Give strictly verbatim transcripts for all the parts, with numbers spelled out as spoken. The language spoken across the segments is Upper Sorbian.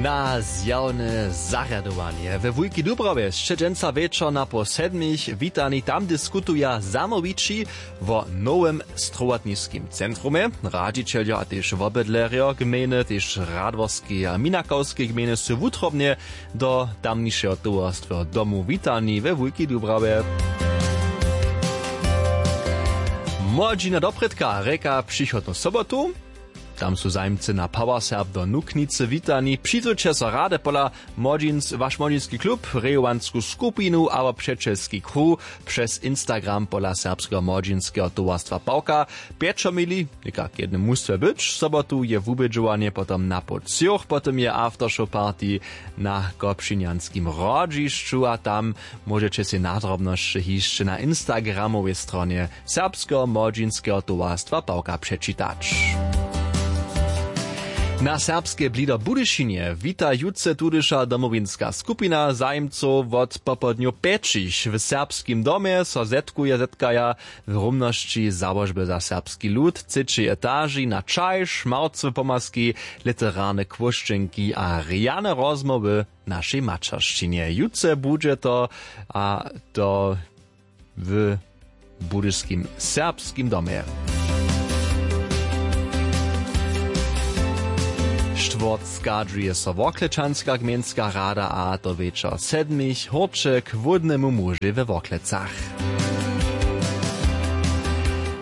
Na zjawne zarjadowanje we wulki dubrawje sće dźensa wječor na poł sedmich witani. Tam diskutuja zamołwići wo nowym strowotniskim centrumje. Radźićeljo a tež wobydlerjo gmejny, tež radworskeje a minakowskeje gmejny su wutrobnje do tamnišeho towarstweho domu witani we wulki dubrawje. Młodźina doprědka rěka přichodnu sobotu. Tam su zajimcy na power serb do nuknicy witani. Přidźeće so rady pola młodźins waš młodźinski klub, rejowansku skupinu abo přećelski kruh přez instagram pola serbskeho młodźinskeho towarstwa pawka. Pječomili někak jednym mustwje być sobotu je wubědźowanje potom na poł třoch potom je aftershow party na kopšinjanskim hrodźišću a tam móžeće sej nadrobnosće hišće na instagramowej stronje serbskeho młodźinskeho towarstwa pawka přečitać. Na serbskej blido budyšinje wita jutře tudyša domowinska skupina zajimcow wot popołdnju pjećich w serbskim domje so zetkuje zetkaja w rumnosći załožby za serbski lud třećej etaži na čaj šmawcowe pomazki, literarne kłóšćenki a rjane rozmołwy w našej maćeršćinje jutře budźe to, a to w budyšskim serbskim domje. Štwórtk schadźuje so worklečanska gmejnska rada a to wječor sedmich hórće k hłódnemu mužej we worklecach.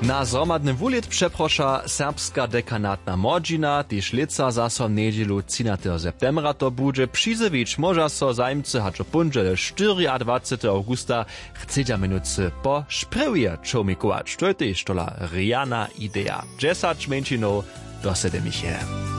Na zhromadny wulět přeproša serbska dekanatna młodźina tež lětsa zaso njedźelu třinateho septembra to budźe přizjewić móža so zajimcy hač w póndźele štyriadwaceteho awgusta chcedźa měnujcy po šprjewje čołmikować to je tež tola rjana ideja dźesać mjeńšinow do sedemiche.